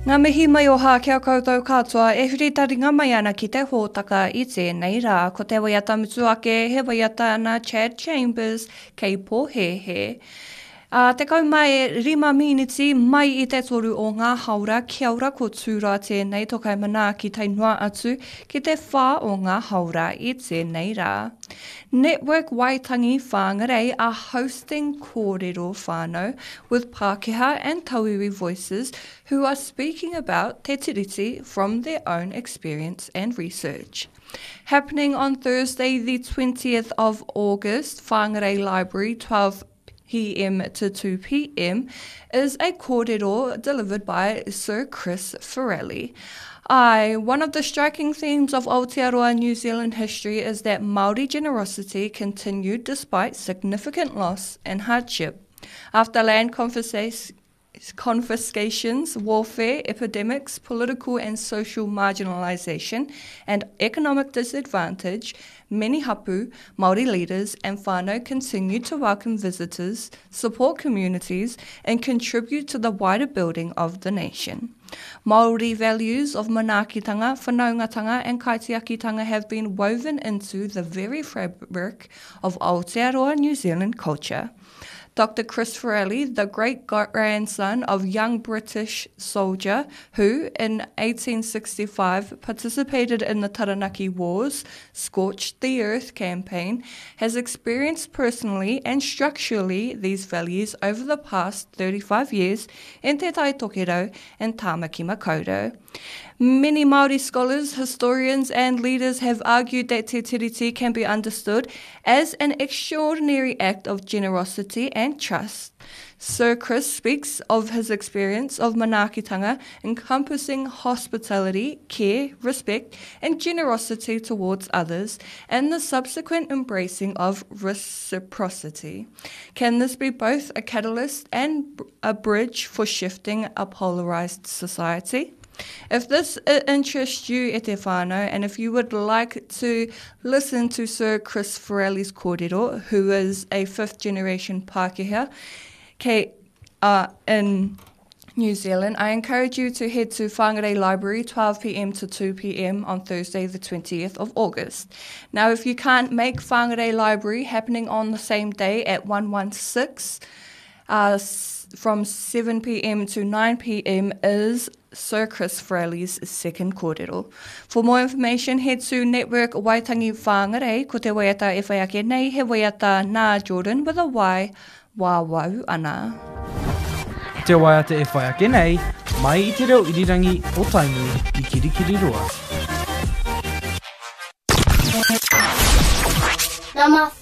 Ngā mihi maioha ki a koutou katoa e huri taringa mai ana ki te hōtaka i tēnei rā. Ko te waiata mutu ake he waiata nā Chad Chambers kei pōhēhē. Ā, 15 mīniti mai i te toru o ngā haora, kia ora ko Tūroa tēnei tokai manaaki tae noa atu ki te whā o ngā haora i tēnei rā. Network Waitangi Whangarei are hosting Kōrero Whānau with Pākehā and Tauiwi voices who are speaking about Te Tiriti from their own experience and research. Happening on Thursday the 20th of August, Whangarei Library, 12 p.m. to 2 p.m., is a kōrero delivered by Sir Chris Ferrelli. I, one of the striking themes of Aotearoa New Zealand history is that Māori generosity continued despite significant loss and hardship. After land confiscations, warfare, epidemics, political and social marginalisation, and economic disadvantage, many hapu, Māori leaders, and whānau continued to welcome visitors, support communities, and contribute to the wider building of the nation. Māori values of manaakitanga, whanaungatanga, and kaitiakitanga have been woven into the very fabric of Aotearoa New Zealand culture. Dr. Chris Ferrelli, the great grandson of young British soldier who, in 1865, participated in the Taranaki Wars, Scorched the Earth campaign, has experienced personally and structurally these values over the past 35 years in Te Tai Tokerau and Tāmaki Makaurau. Many Māori scholars, historians and leaders have argued that Te Tiriti can be understood as an extraordinary act of generosity and trust. Sir Chris speaks of his experience of manaakitanga encompassing hospitality, care, respect and generosity towards others and the subsequent embracing of reciprocity. Can this be both a catalyst and a bridge for shifting a polarized society? If this uh, interests you, e te whānau, and if you would like to listen to Sir Chris Ferrelli's kōrero, who is a fifth generation Pākehā, kei, uh, in New Zealand, I encourage you to head to Whangarei Library 12pm to 2pm on Thursday the 20th of August. Now, if you can't make Whangarei Library happening on the same day at 116, uh, from 7pm to 9pm is Sir Chris Fraley's second kōrero. For more information, head to Network Waitangi Whangarei, ko te waiata e whai ake nei, he waiata nā Jordan with a Y, wāwau ana. Te waiata e whai ake nei, mai i te reo irirangi o Tainui i Kirikiriroa. Number 5.